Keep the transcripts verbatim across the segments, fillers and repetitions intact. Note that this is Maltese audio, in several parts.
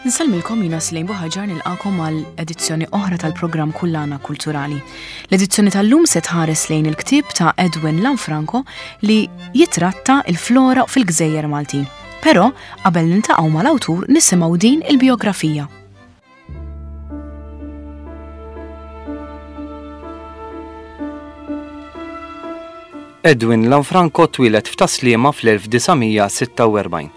Nsellmilkom, jiena Slejn Buħaġar, nilqagħkom għal edizzjoni oħra tal-programm Kullana Kulturali. L-edizzjoni tal-lum se tħares lejn il-ktieb ta' Edwin Lanfranco li jitratta il-flora fil-Gżejjer Maltin. Però qabel niltaqgħu mal-awtur nisimgħu din il-biografija. Edwin Lanfranco twieled f'Tas-Sliema fl-elf disa' mija sitta u erbgħin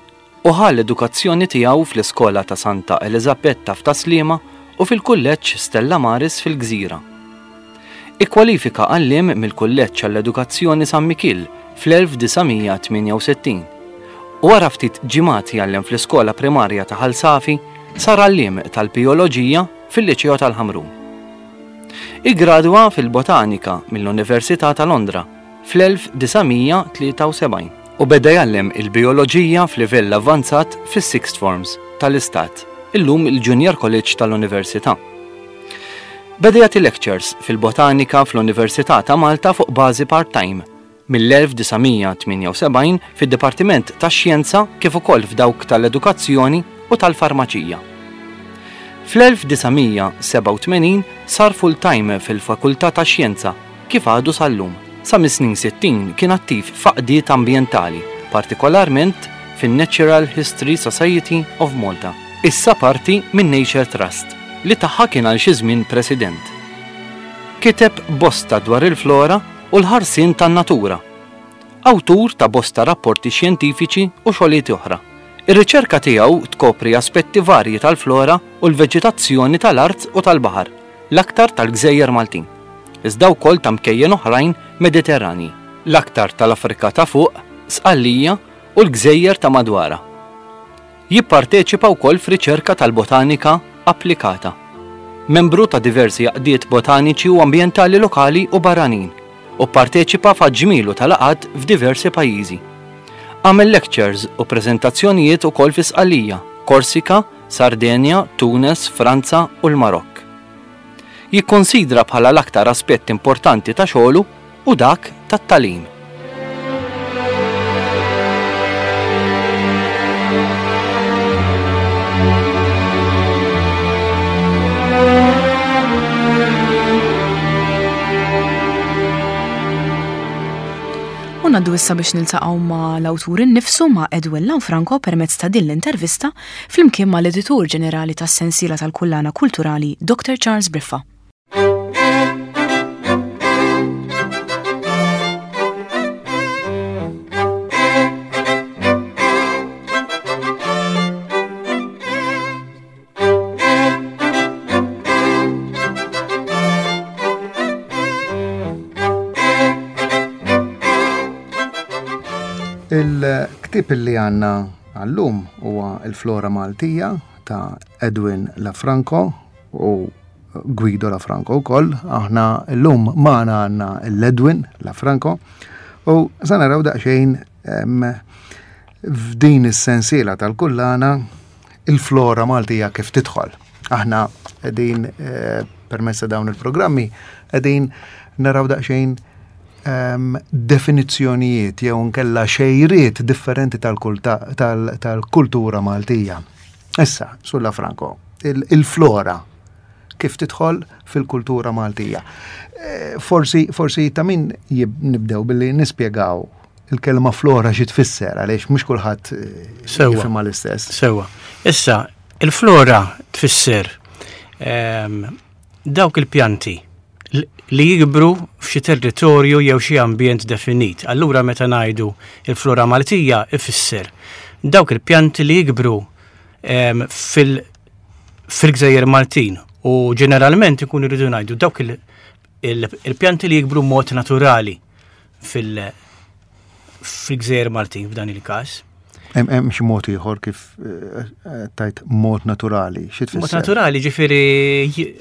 u ħa l-edukazzjoni tiegħu fl-iskola ta' Santa Elizabetta f'Tas-Sliema u fil-kulleġġ Stella Maris fil-Gżira. Ikkwalifika għalliem mill-Kulleġġ għall-Edukazzjoni San Mikil fl-elf disa' mija tmienja u sittin u wara ftit ġimgħat jgħallem fl-iskola primarja ta' Ħal Safi sar għalliem tal-bijoloġija fil-Liċeo tal-Ħamrun. Igradwa fil-Botanika mill-Università ta' Londra fl-elf disa' mija tlieta u sebgħin u beda jgħallem il-bijoloġija f'livell avvanzat fis-Sixth Forms tal-Istat, illum il-Junior College tal-Università. Beda jagħti lectures fil-botanika fl-Università ta' Malta fuq bażi part-time mill-elf disa' mija tmienja u sebgħin fid-Dipartiment tax-Xjenza kif ukoll f'dawk tal-Edukazzjoni u tal-Farmaċija. Fl-elf disa' mija sebgħa u tmenin sar full-time fil-Fakultà tax-Xjenza kif għadu sal-lum. Sa mis-snin sittin kien attiv f'għaqdiet ambjentali, partikolarment fin-Natural History Society of Malta. Issa parti minn Nature Trust, li tagħha kien għal xi żmien president. Kiteb bosta dwar il-flora u l-ħarsien tan-natura. Awtur ta' bosta rapporti xjentifiċi u xogħlijiet oħra. Ir-riċerka tiegħu tkopri aspetti varji tal-flora u l-veġetazzjoni tal-art u tal-baħar, l-aktar tal-Gżejjer Maltin, iżda wkoll ta' mkejjen oħrajn Mediterrani, l-aktar tal-Afrika ta' fuq, Sqallija u l-Gżejjer ta' madwara. Jipparteċipa wkoll f'riċerka tal-botanika applikata. Membru ta' diversi għaqdiet botaniċi u ambjentali lokali u barranin u parteċipa f'ġmielu tal-laqgħat f'diversi pajjiżi. Għamel lectures u prezentazzjonijiet ukoll fi Sqallija, Korsika, Sardenja, Tunes, Franza u l-Marokk. Jikkonsidra bħala l-aktar aspett importanti ta' xogħlu u dak tat-tagħlim. U ngħaddu issa biex niltaqgħu ma' l-awtur innifsu, ma' Edwin Lanfranco, permezz ta' din l-intervista flimkien ma' l-editur ġenerali tas-sensiela tal-Kullana Kulturali, Doctor Charles Briffa. Il-ktib li għandna għallum huwa il-Flora Maltija ta' Edwin Lafranco u Guido Lafranco wkoll. Aħna llum magħna għandna l-Edwin Lafranco u sa naraw daqsxejn em, f'din is-sensiela tal-kullana il-Flora Maltija kif tidħol. Aħna qegħdin eh, permezz ta' dawn il-programmi qegħdin naraw daqsxejn um, definizzjonijiet jew nkella xejriet differenti tal-kulta- tal- tal-kultura Maltija. Issa, Sur Lafranco, il- il-flora kif tidħol fil-kultura Maltija. Eh, Forsi, forsi ta' min jib- nibdew billi nispjegaw il-kelma flora xi tfisser, għaliex mhux kulħadd eh, Sewwa. jifhimha l-istess. Sewwa. Issa, il-flora tfisser ehm, dawk il-pjanti l- li jikbru f'xi territorju jew xi ambjent definit. Allura meta ngħidu il-flora Maltija ifisser dawk il-pjanti li jikbru ehm, fil- fil-Gżejjer Maltin u ġeneralment ikun irridu ngħidu dawk il- il- il-pjanti li jikbru mod naturali fil- fil-Gżejjer Maltin f'dan il-każ. Hemm hemm xi mod ieħor kif eh, eh, tajt mod naturali, xi tfisser? Mod naturali, ġifieri j-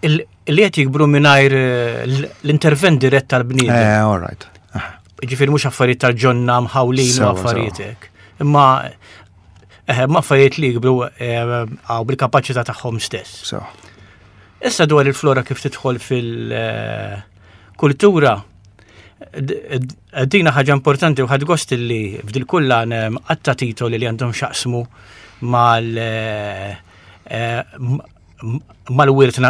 il- li qed jikbru mingħajr eh, l- l-intervent dirett tal-bniedem. Eh, all right. Ah, Ġifieri mhux affarijiet tal-ġonna mħawlin u Sewwa, affarijiet hekk. Imma eh, ma affarijiet li jikbru eh, għaw bil-kapaċità tagħhom stess. So. Issa dwar il-flora kif tidħol fil-kultura, d- d- dina ħaġa importanti u ħadt gost li f'dil kullan għatta titoli li għandhom x'jaqsmu mal eh, eh, mal-wirt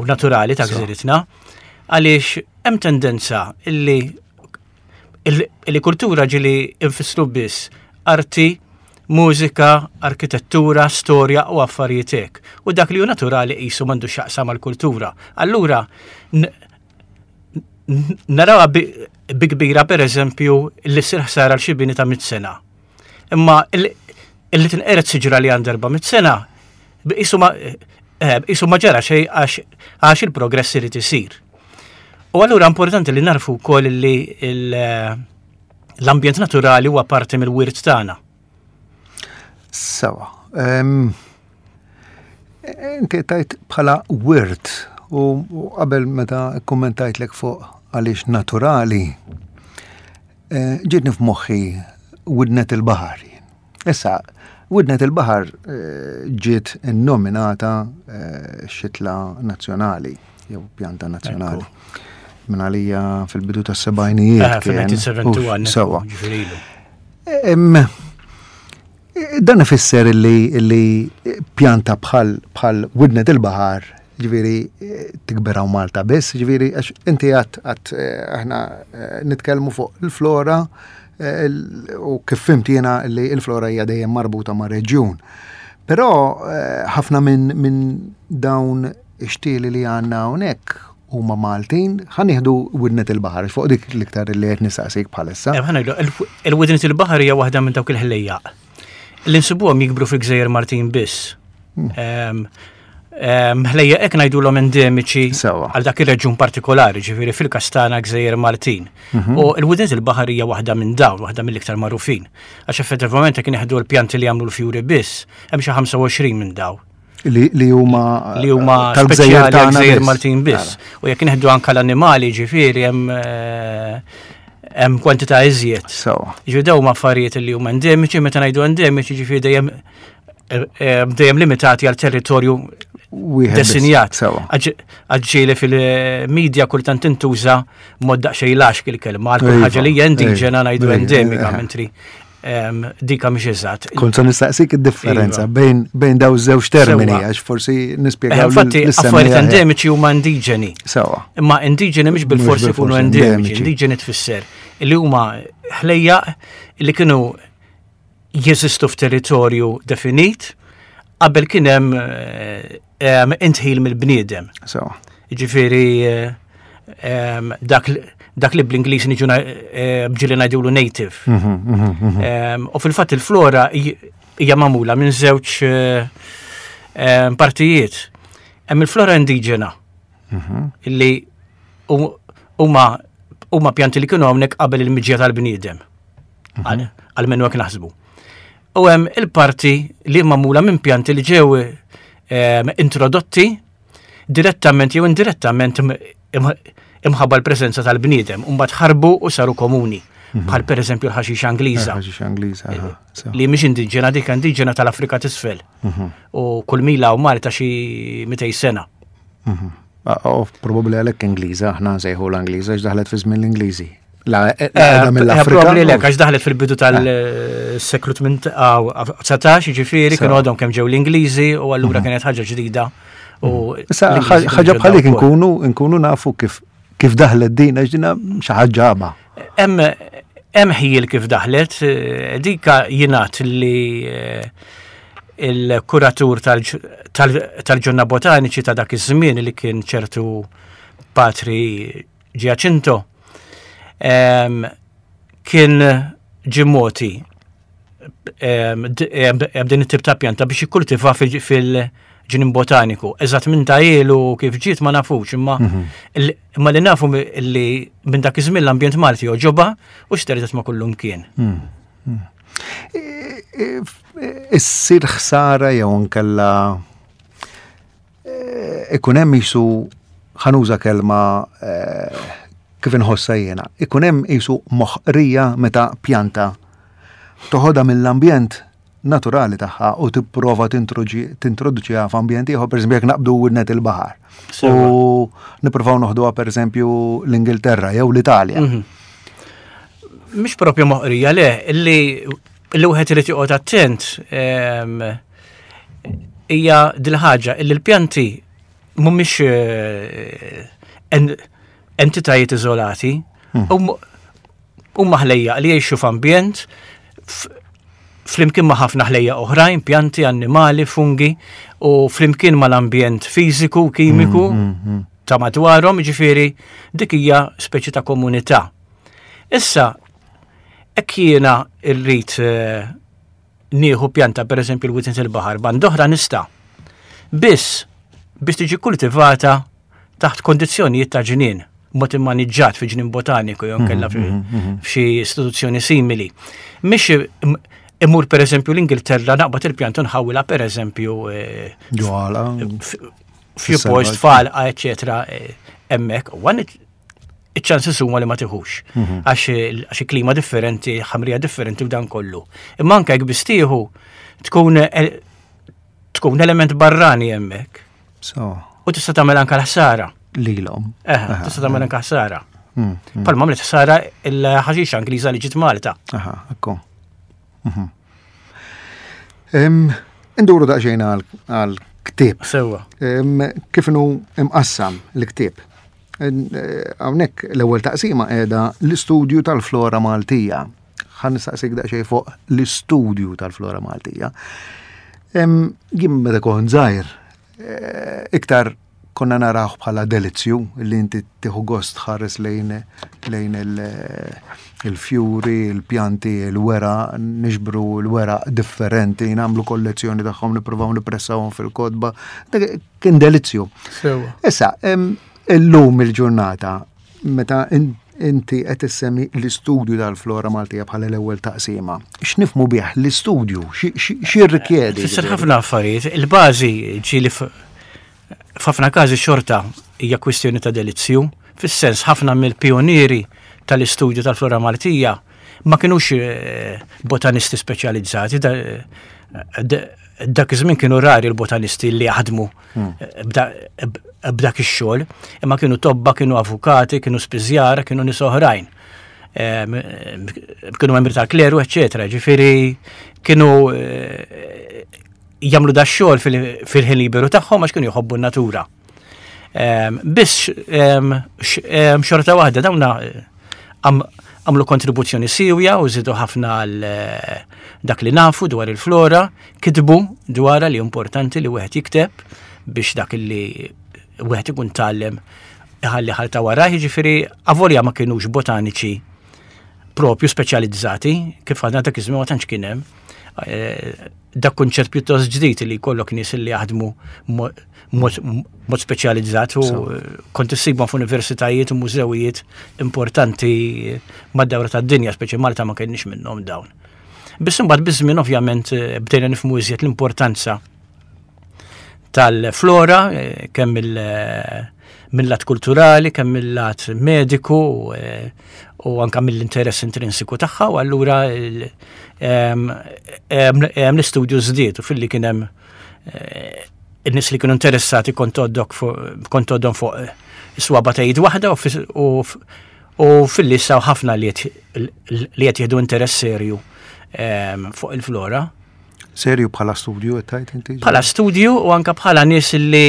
naturali ta' gżiritna, għaliex hemm tendenza illi illi kultura ġieli infissru biss arti, mużika, arkitettura, storja u affarijiet hekk. U dak li hu naturali qisu m'għandu x'jaqsam mal-kultura. Allura narawha bi kbira per eżempju li ssir ħsara għal xi bini ta' mitt sena. Imma illi tinqered siġra li għandha erba' mitt sena, qisu ma qisu ma ġara xejn għax il-progress irid isir. U allura importanti li narfu wkoll li l-ambjent naturali huwa parti mill-wirt tagħna. Sewa. Inti tajt bħala wirt u qabel meta kommentajtlek fuq għaliex naturali, ġietni f'moħħi Widnet il-Baħar. Issa, Widnet il-Baħar ġiet innominata xitla nazzjonali, jew pjanta nazzjonali. Minn għalija fil-bidu tas-sebgħinijiet. fil-elf disa' mija u wieħed u sebgħin. Sewa. Dan ifisser li pjanta bħal bħal Widnet il-Baħar, ġifieri tikber hawn Malta biss, ġifieri għax inti għat għat aħna nitkellmu fuq il-flora u kif fhimt jiena li il-flora hija dejjem marbuta ma' reġjun. Però ħafna minn min dawn ix-xtieli li għandna hawnhekk huma Maltin, ħa nieħdu Widnet il-Baħar, fuq dik l-iktar li qed nistaqsik bħalissa. Il-Widnet il-Baħar hija waħda minn dawk il-ħlejjaq. Li nsibuhom jikbru fil-Gżejjer Maltin biss. Ħlejjaq hekk ngħidulhom endemiċi għal dak ir-reġjun partikolari, ġifieri fil-każ tagħna Gżejjer Maltin. Mhm. U l-Widnet il-Baħar hija waħda minn dawn, waħda mill-iktar magħrufin. Għax effettivament jekk nieħdu l-pjanti li jagħmlu l-fjuri biss, hemm xi ħamsa u għoxrin minn dawn. Li huma li huma tal-gżejjer tagħna Maltin biss. U jekk nieħdu anke l-annimali, ġifieri hemm eh, hemm kwantità iżjed. Ġifieri dawn huma affarijiet li huma endemiċi, meta ngħidu endemiċi ġifieri dejjem eh, eh, dejjem limitati għal territorju desinjat. Għax ġieli fil-medja kultant tintuża mod daqsxejn laxk il-kelma, għal kull ħaġa li hija indiġena ngħidu endemika, mentri dika mhix eżatt. Kont se nistaqsik id-differenza iva. bejn bejn daw żewġ termini għax forsi nispjegaw. Infatti affarijiet endemiċi huma indiġeni. Sewa. Imma indiġeni mhix bil-forsi jkunu endemiċi, indiġeni tfisser li huma ħlejjaq li kienu jeżistu f'territorju definit qabel kien hemm indħil mill-bniedem. Sewa. Ġifieri dak dak li bl-Ingliż niġu ġieli ngħidulu native. Mhm, mhm, mhm. U fil-fatt il-flora hija magħmula minn żewġ partijiet. Hemm il-flora indiġena illi huma huma pjanti li kienu hawnhekk qabel il-miġja tal-bniedem. Għalmenu hekk naħsbu. U hemm il-parti li magħmula minn pjanti li ġew introdotti direttament jew indirettament imħabba l-preżenza tal-bniedem, u mbagħad ħarbu u saru komuni. Mhm. Bħal per eżempju l-ħaxix Angliża. Ħaxix Angliża. Li mhix indiġena, dik indiġena tal-Afrika t'isfel. Mhm. U kull mila u Malta xi mitejn sena. Mhm. U probabbli għalhekk Ingliża, aħna nsejħu l-Angliża x'daħlet fi żmien l-Ingliżi. La, eh, eh, mill-Afrika. Probabbli lek, għax daħlet fil-bidu tal-seklu dsatax, ġifieri, kienu għadhom kemm ġew l-Ingliżi u allura kienet ħaġa ġdida. Issa ħaġa bħalik nkunu nkunu nafu kif kif daħlet din, għax dina xi ħaġa ġaba. Hemm ħjiel kif daħlet, eh, dika jingħad li eh, il-kuratur tal-ġonna botaniċi ta' dak iż-żmien li kien ċertu Patri Giacinto kien ġie mogħti din it-tip ta' pjanta biex jikkultiva fil-ġnien botaniku. Eżatt minn ta' ilu kif ġiet ma nafux, imma mhm. imma li nafu li minn dak iż-żmien l-ambjent Malti għoġobha u xterdet ma' kullum kien. Mhm. Mhm. Issir ħsara jew nkella ikun hemm jisu, ħa nuża kelma kif inħossa jiena, ikun hemm jisu moħqrija meta pjanta toħodha mill-ambjent naturali tagħha u tipprova tintroduċiha f'ambjent ieħor, pereżempju jekk naqbdu Widnet il-Baħar. U nippruvaw noħduha, pereżempju, l-Ingilterra jew l-Italja. Mhm. Mhix propju moħqrija, le, illi illi wieħed irid joqgħod attent Hija dil-ħaġa illi l-pjanti mhumiex eh, entitajiet iżolati, hmm. huma ħlejjaq li jgħixu f'ambjent flimkien ma' ħafna ħlejjaq oħrajn, pjanti, annimali, fungi, u flimkien mal-ambjent fiżiku, kimiku hmm, hmm, ta' madwarhom, ġifieri dik hija speċi ta' komunità. Issa, hekk jiena rrid eh, nieħu pjanta, per eżempju l-witnet il-baħar, band'oħra nista'. Biss biex tiġi kultivata taħt kondizzjonijiet ta' ġnien, mod immaniġġat fi ġnien botaniku jew kella mhm, mhm, mhm. f'xi istituzzjoni simili. Mhix imur per eżempju l-Ingilterra, naqbad il-pjanta, nħawwilha per eżempju eh, f'xi post f'għalqa, eċetera, eh, hemmhekk. Iċ-ċansi huma li ma tiħux. Għax klima differenti, ħamrija differenti u dan kollu. Imma anke jekk biss tieħu tkun eh, tkun element barrani hemmhekk. U tista' tagħmel anke l-ħsara. Lilhom. Eh, tista' tagħmel anke ħsara. Mm, mm. Palma għamlet ħsara il-ħaxixa Ingliża li ġiet Malta. Aha, ekku. Mhm. Induru daqsxejn għal ktieb. Sewwa. Kif inhu imqassam l-ktieb? Eh, hawnhekk l-ewwel taqsima qiegħda l-istudju tal-flora Maltija. Ħa nistaqsik daqsxejn fuq l-istudju tal-flora Maltija. Jien meta kont żgħir, eh, iktar konna narawh bħala delizzju li inti tieħu gost tħares lejn lejn il-fjuri, il-pjanti, il-weraq, niġbru l-weraq differenti, nagħmlu kollezzjoni tagħhom, nippruvaw nippressawhom fil-kotba. Kien delizzju. Issa, illum il-ġurnata, meta inti qed issemmi l-istudju tal-flora Maltija bħala l-ewwel taqsima. X'nifhmu bih l-istudju? X'jirrikjedi? Fisser ħafna affarijiet. Il-bażi ġieli f'ħafna każi xorta hija kwistjoni ta' delizzju, fis-sens ħafna mill-pionieri tal-istudju tal-flora Maltija ma kinux eh, botanisti speċjalizzati, dak iż-żmien kienu rari l-botanisti li jaħdmu hmm. b'dak ix-xogħol, imma kienu tobba, kienu avukati, kienu spiżjara, kienu nies oħrajn. Kienu membri tal-kleru, eċċetera. Ġifieri kienu eh, jagħmlu da xogħol fil-ħin liberu tagħhom għax kienu jħobbu n-natura. Biss xorta waħda dawna għamlu kontribuzzjoni siwja u żidu ħafna għal eh, dak li nafu dwar il-flora, kitbu dwarha, li importanti li wieħed jikteb biex dak li wieħed ikun tgħallem iħalli ħalta wara, jiġifieri avolja ma kienux botaniċi propju speċjalizzati, kif għadna dak iż-żmien ma tantx kien hemm. Eh, dak kunċett pjuttost ġdid li jkollok nies li jaħdmu mod speċjalizzat u kont issibhom f'universitajiet u mużewijiet importanti mad-dawra tad-dinja, speċi Malta ma kienx minnhom dawn. Biss imbagħad biż-żmien ovvjament eh, bdejna nifhmu iżjed l-importanza tal-flora, eh, kemm il- eh, mill-lat kulturali, kemm mill-lat mediku eh, u anka mill-interess intrinsiku tagħha, u allura l-istudju żdied u filli kien hemm in-nies li kienu interessati kont għoddhom fuq is-swaba ta' id waħda u filli saw ħafna li qed jieħdu interess serju fuq il-flora. Serju bħala studju qed tgħid inti? Bħala studju u anka bħala nies li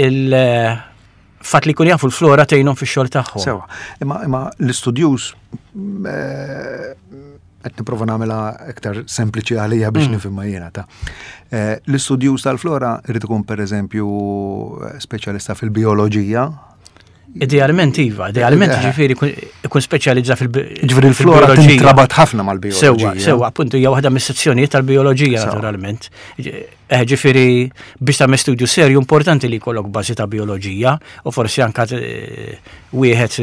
il-fatt li jkun jafu l-flora tgħinhom fix-xogħol tagħhom. Sewa. Imma imma l-istudjuż eh, qed nipprova nagħmilha iktar sempliċi għalija biex mm. nifhimha jiena ta'. Eh, l-istudjuż tal-flora irid ikun, pereżempju, speċjalista fil-bioloġija. Idealment iva, idealment eh. ġifieri ikun speċjalizza fil- Ġifieri l-flora tintrabat ħafna mal-bioloġija. Sewwa, sewwa, appuntu hija waħda mis-sezzjonijiet tal-bioloġija naturalment. Eh, ġifieri biex tagħmel studju serju importanti li jkollok bażi ta' bioloġija u forsi anka eh, wieħed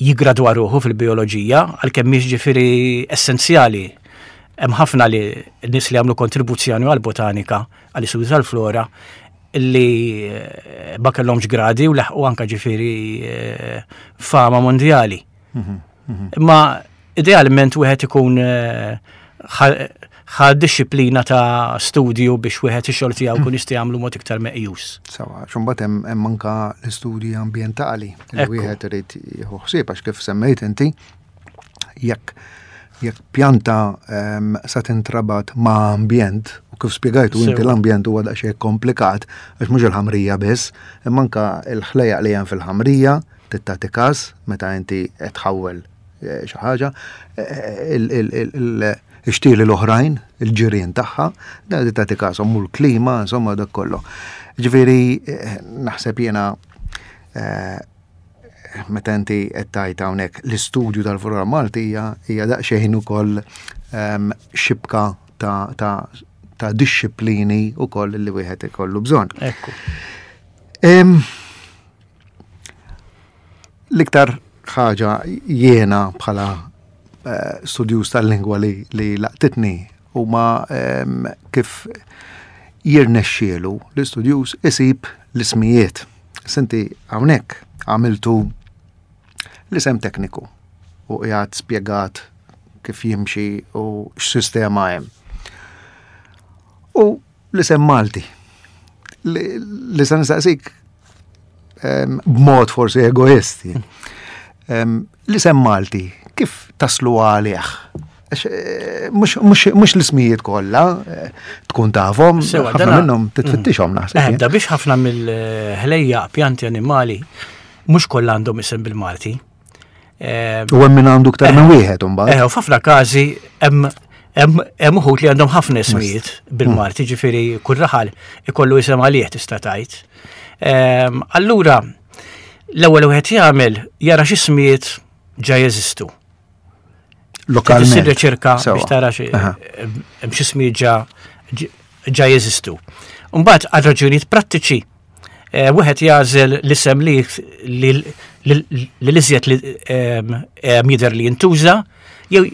jigradwa ruħu fil-bioloġija, għalkemm mhix ġifieri essenzjali. Hemm ħafna li nies li għamlu kontribuzzjoni għal-botanika, għall-istudju tal-flora, li eh, ma kellhomx gradi u laħqu anka ġifieri eh, fama mondjali. Mhm, mhm. Imma idealment wieħed ikun eh, ħa disciplina ta' studju biex wieħed ix-xogħol tiegħu kun jista' jagħmlu mod iktar meqjus. Sawa, xumbat hemm anka l-istudji ambjentali li wieħed irid jieħu ħsieb, għax kif semmejt inti, jekk Jekk pjanta um, sa tintrabat ma' ambjent, u kif spjegajtu inti l-ambjent huwa daqsxejn komplikat, għax mhux il-ħamrija biss, imma anke l-ħlejjaq li hemm fil-ħamrija, tagħti każ meta inti qed tħawwel eh, xi ħaġa, eh, ix-xtieli l-oħrajn, il-ġirien tagħha, da tagħti każ u l-klima, insomma dak kollu. Ġifieri eh, naħseb jiena meta inti qed tgħid hawnhekk l-istudju tal-flora Maltija hija daqsxejn ukoll ehm, xibka ta' ta' ta' dixxiplini ukoll li wieħed ikollu bżonn. Ekku. L-iktar ħaġa jiena bħala eh, studjuż tal-lingwa li, li laqtitni huma ehm, kif jirnexxielu l-istudjuż isib l-ismijiet. Senti hawnhekk għamiltu l-isem tekniku u qiegħed spjegat kif jimxi u x'sistema hemm. U l-isem Malti. Li, li se nistaqsik b'mod forsi egoisti. L-isem Malti, kif taslu għalih? Eh, mhux l-ismijiet kollha eh, tkun tafhom, ħafna minnhom titfittixhom naħseb. Eh, da biex ħafna mill-ħlejja pjanti animali mhux kollha għandhom isem bil-Malti. U hemm min għandu iktar minn wieħed imbagħad. Eh, u f'ħafna każi hemm hemm uħud li għandhom ħafna ismijiet bil-Malti, ġifieri kull raħal ikollu isem għalih tista' tgħid. Allura, l-ewwel wieħed jagħmel jara x'ismijiet ġa jeżistu. Lokalment. Issir riċerka biex tara hemm x'ismijiet ġa ġa jeżistu. Mbagħad għal raġunijiet prattiċi eh, wieħed jagħżel l-isem li li l-iżjed li jidher li jintuża jew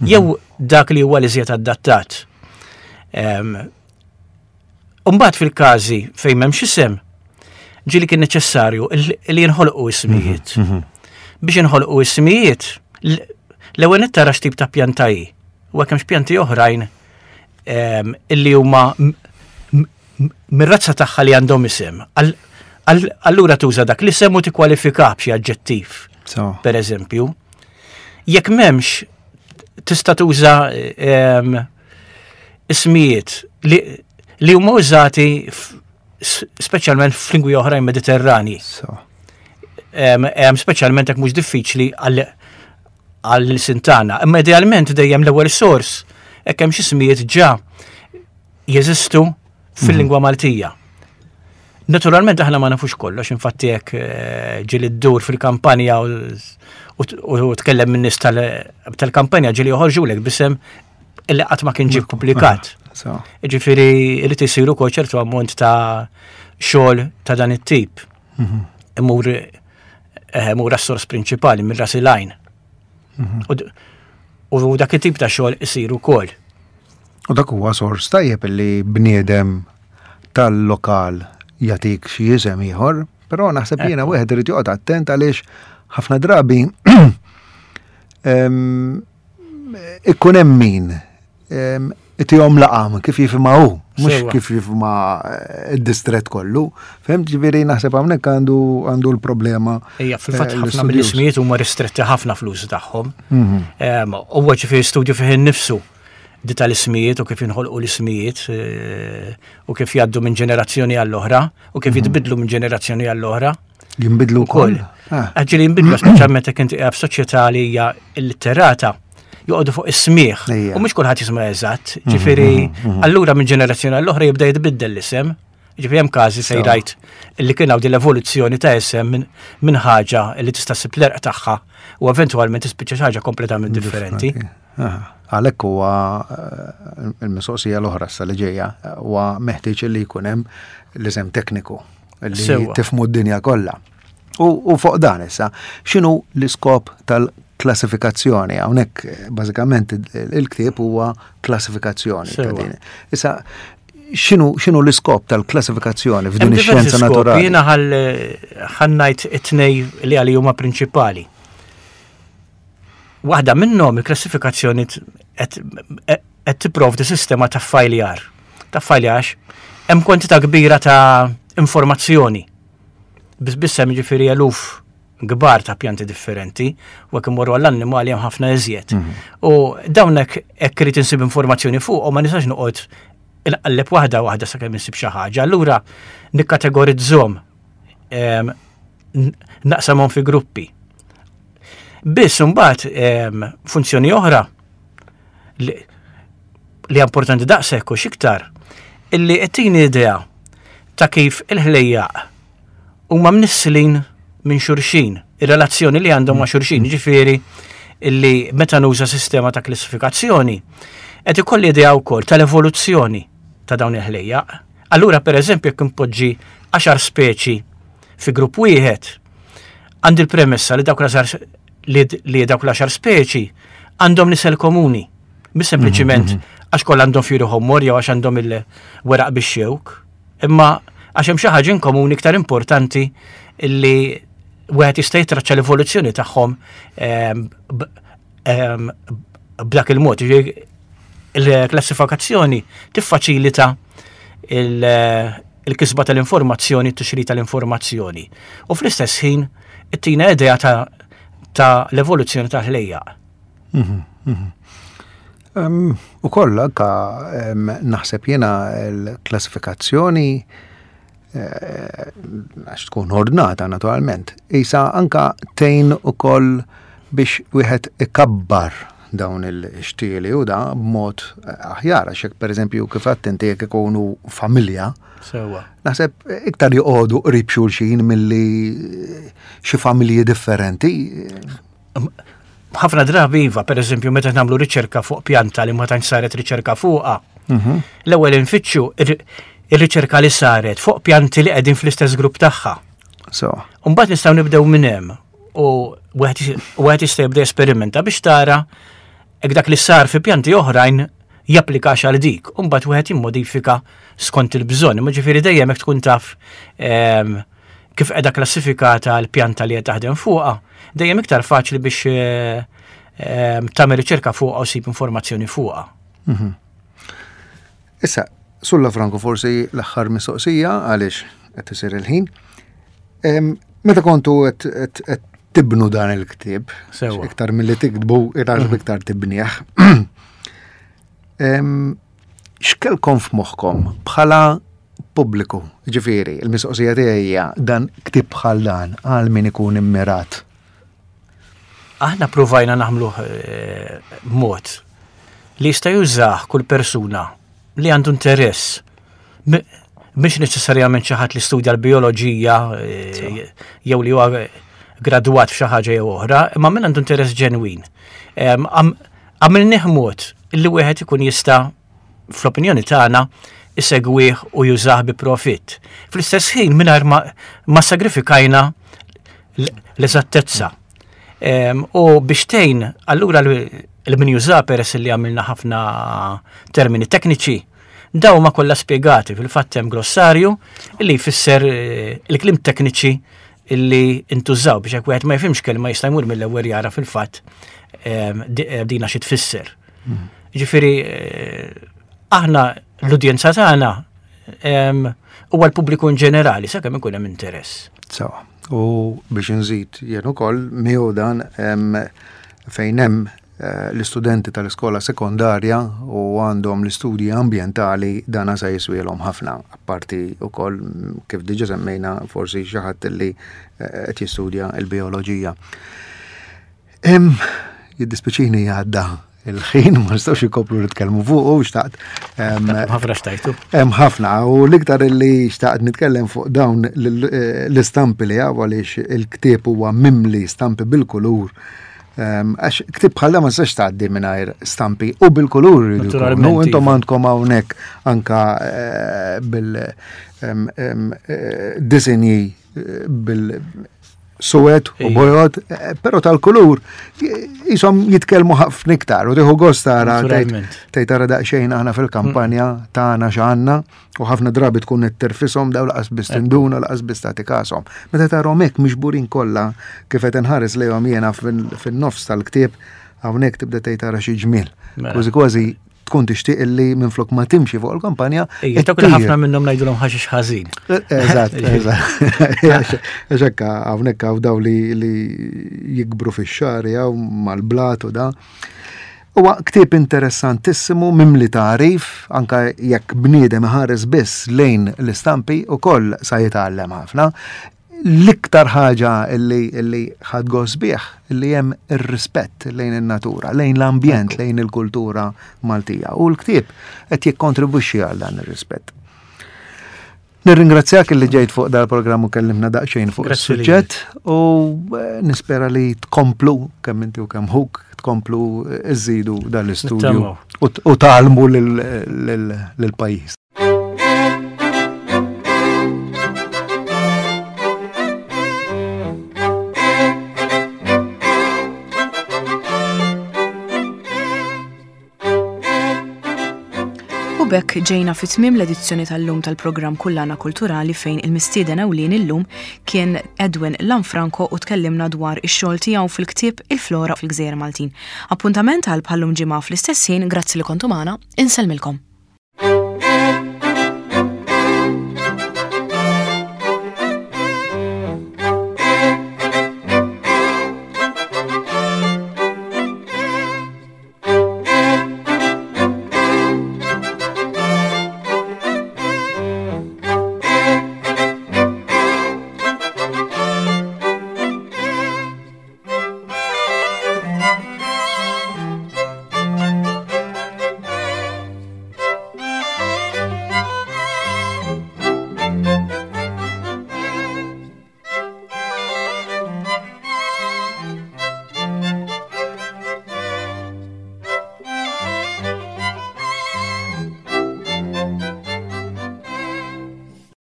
jew dak li huwa l-iżjed adattat. Mbagħad fil-każi fejn m'hemmx isem, ġieli kien neċessarju li jinħolqu ismijiet. Mhm, mhm. Biex inħolqu ismijiet, l-ewwel nett tara x'tip ta' pjanta hi. U hekk hemmx pjanti oħrajn illi huma mir-razza tagħha li għandhom isem. Allura tuża dak l-isem u tikkwalifika b'xi aġġettiv. Per eżempju, jekk m'hemmx tista' tuża ismijiet li, li huma użati speċjalment f'lingwi oħrajn Mediterrani. Speċjalment jekk mhux diffiċli għall-ilsien tagħna. Imma idealment dejjem l-ewwel sors hekk hemm xi ismijiet ġa jeżistu fil-lingwa Maltija. Naturalment aħna ma nafux kollox, infatti jekk eh, ġieli ddur fil-kampanja u tkellem minn nies tal-kampanja ġieli joħorġulek b'isem illi qatt ma kien ġie ppubblikat. Ġifieri irid isir ukoll ċertu ammont ta' xogħol ta' dan it-tip. Mhm. Imur eh, imur għas-sors prinċipali minn ras il-għajn. Mhm. U dak it-tip ta' xogħol isir ukoll. U dak huwa sors tajjeb li bniedem tal-lokal jagħtik xi isem ieħor, però naħseb jiena wieħed irid joqgħod attent għaliex ħafna drabi ikun hemm min itihom laqam kif jifhimha hu, mhux kif jifhimha eh, id-distret kollu. Fhemt ġifieri naħseb hawnhekk għandu għandu l-problema. Ejja, fil-fatt eh, ħafna mill-ismijiet huma ristretti ħafna fl-użu tagħhom. Mhm. Huwa ġifieri studju fih innifsu di tal-ismijiet u kif jinħolqu l-ismijiet eh, u kif jgħaddu minn ġenerazzjoni għall-oħra u kif mhm. jitbidlu minn ġenerazzjoni għall-oħra. Jinbidlu wkoll. Ah. Ġieli jinbidlu speċjalment jekk inti qiegħed f'soċjetà li hija illitterata joqogħdu fuq is-smieħ u mhux kulħadd jisma' eżatt. Mhm, Ġifieri mhm, allura minn ġenerazzjoni għall-oħra jibda jitbiddel l-isem. Ġifieri hemm każi fejn rajt li kien hawn din l-evoluzzjoni ta' isem minn ħaġa li tista' ssib l-erq tagħha u eventwalment tispiċċa xi ħaġa kompletament differenti. Għalhekk huwa eh, il-mistoqsija l-oħra sa li ġejja huwa meħtieġ li jkun hemm l-isem tekniku li tifmu d-dinja kollha. U fuq dan issa, x'inhu l-iskop tal-klassifikazzjoni? Hawnhekk eh, bażikament il-ktieb huwa klassifikazzjoni. Issa, x'inhu l-iskop tal-klassifikazzjoni f'din ix-xjenza naturali? Jiena ħannajt it-tnej li għali huma prinċipali. Waħda minnhom il-klassifikazzjoni qed tipprovdi sistema ta' fajljar. Ta' fajljar hemm kwantità kbira ta' informazzjoni. Biss biss hemm ġifieri eluf kbar ta' pjanti differenti, u jekk immorru għall-annimali hemm ħafna iżjed. U dawn hekk hekk irid insib informazzjoni fuq u ma nistax noqgħod inqalleb waħda waħda sakemm insib xi ħaġa. Allura nikkategorizzhom, em, n- naqsamhom fi gruppi. Biss imbagħad em, funzjoni oħra li li importanti daqshekk u x'iktar, illi qed idea ta' kif il-ħlejjaq huma mnisslin minn xulxin, ir-relazzjoni li għandhom ma' xulxin, ġifieri illi meta nuża sistema ta' klassifikazzjoni, qed ikolli idea wkoll tal-evoluzzjoni ta' dawn il-ħlejjaq. Allura pereżempju jekk impoġġi għaxar speċi fi grupp wieħed, għandi l-premessa li dawk l-għaxar li, li dawk l-għaxar speċi għandhom nisel komuni. Mhux sempliċiment għax kollha għandhom fjuri ħomor jew għax għandhom il-weraq bix-xewk, imma għax hemm xi ħaġa in komuni iktar importanti illi wieħed jista' jitraċċa l-evoluzzjoni tagħhom ehm, b- ehm, b'dak il-mod. Ġifieri, il-klassifikazzjoni tiffaċilita il- il-kisba tal-informazzjoni, t-tixrid tal-informazzjoni. U fl-istess ħin, ittina idea ta' ta' l-evoluzzjoni ta' ħlejjaq. Um, u koll anka um, naħseb jena l-klassifikazzjoni eh, għax tkun ordnata naturalment. Isa anka tgħin ukoll biex wieħed ikabbar dawn il-xtieli u da b'mod aħjar, għax jekk pereżempju kif għedt inti jekk ikunu familja, Sewa. naħseb iktar joqogħdu qrib xulxin milli xi familji differenti. Ħafna drabi iva, per eżempju, meta nagħmlu riċerka fuq pjanta li ma tantx saret riċerka fuqha, l-ewwel infittxu ir- ir-riċerka li saret fuq pjanti li qegħdin fl-istess grupp tagħha. So, Mbagħad nistgħu nibdew minn hemm u wieħed wieħed jista' jibda esperimenta biex tara hekk dak li sar fi pjanti oħrajn japplikax għal dik. U mbagħad wieħed jimmodifika skont il-bżonn. Imma ġifieri dejjem hekk tkun taf em, kif qiegħda klassifikata l-pjanta li qed taħdem fuqha, dejjem iktar faċli biex eh, em, tagħmel riċerka fuqha u ssib informazzjoni fuqha. Issa, Sur Lafranco, forsi l-aħħar mistoqsija għaliex qed isir il-ħin. Em, Meta kontu qed qed- qed tibnu dan il-ktieb, Sewa. iktar milli tiktbu, iktar iktar tibnieh. Em, X'kelkom f'moħħkom bħala pubbliku? Ġifieri, il-mistoqsija tiegħi hija dan ktieb bħal dan għal min ikun immirat. Aħna provajna nagħmluh eh, mod li jista' jużah kull persuna li għandu interess. M- Mhix neċessarjament xi ħadd li studja l-bioloġija eh, jew li huwa gradwat f'xi ħaġa jew oħra, imma min għandu interess ġenwin. Em, għam- Għamilnieh mod li wieħed ikun jista' fl-opinjoni tagħna isegwih u jużah bi profitt. Fl-istess ħin mingħajr ma, ma sagrifikajna l- l-eżattezza. Em, U biex tgħin, allura l- min juża, peress li għamilna ħafna termini tekniċi, daw ma kollha spjegati. Fil-fatt hemm glossarju illi jfisser eh, il-kliem tekniċi illi intużaw biex jekk wieħed ma jifhimx kelma jista' jmur mill-ewwel jara fil-fatt em, di- eh, dina xi tfisser. Ġifieri eh, aħna l-udjenza tagħna em, huwa l-pubbliku in ġenerali sakemm ikun hemm interess. Sawa. U biex nżid jien ukoll miegħu dan em, fejn hemm eh, l-istudenti tal-iskola sekondarja u għandhom l-istudji ambjentali, dana sa jiswielhom ħafna. Apparti ukoll mm, kif diġa semmejna, forsi xi ħadd li eh, qed jistudja l-bioloġija. Em, jiddispjaċini, għadda il-ħin, ma nistgħux ikomplu nitkellmu fuq u xtaqt em, Ħafna xtajtu. Hemm ħafna u l-iktar li xtaqt nitkellem fuq dawn l- l-istampi li hawn, għaliex il-ktieb huwa mimli stampi bil-kulur. Em, Għax ktieb bħal ma nistax tgħaddi mingħajr stampi u bil-kulur jridu jkunu. Naturalment, Intom iva. għandkom hawnhekk anka eh, bil em, em, eh, disinji eh, bil suwed u Ija. bojod, eh, però tal-kulur jisom jitkellmu ħafna iktar u tieħu gost tara tgħid Naturalment. tgħid tara daqsxejn aħna fil-kampanja tagħna x'għandna, u ħafna drabi tkun qed tirfishom daw laqas biss tinduna, laqas biss tagħti kashom. Meta tarahom hekk miġburin kollha kif qed inħares lejhom jiena fin- fin-nofs tal-ktieb hawnhekk, tibda tgħid tara xi ġmiel. Mela. Kważi kważi tkun tixtieq illi minflok ma timxi fuq il-kampanja. Ejja, dak ħafna minnhom ngħidulhom ħaxix ħażin. Eżatt, eżatt. Għax hekk hawnhekk hawn daw li jikbru fix-xagħri hawn mal-blat u da. Huwa ktieb interessantissimu mimli tagħrif, anka jekk bniedem iħares biss lejn l-istampi ukoll sa jitgħallem ħafna. L-iktar ħaġa illi illi ħadt gost bih illi hemm ir-rispett lejn in-natura, lejn l-ambjent, lejn il-kultura Maltija. U l-ktieb qed jikkontribwixxi għal dan ir-rispett. Nirringrazzjak illi ġejt fuq dal-programm u kellimna daqsxejn fuq is-suġġett u eh, nispera li tkomplu kemm inti u kemm ħuk tkomplu iżidu dal-istudju u tgħallmu lill-pajjiż. U b'hekk ġejna fi tmiem l-edizzjoni tal-lum tal-programm Kullana Kulturali fejn il-mistieden ewlieni llum kien Edwin Lanfranco u tkellimna dwar ix-xogħol tiegħu fil-ktieb Il-Flora fil-Gżejjer Maltin. Appuntament għal bħallum ġimgħa fl-istess ħin, grazzi li kontu magħna, insellmilkom.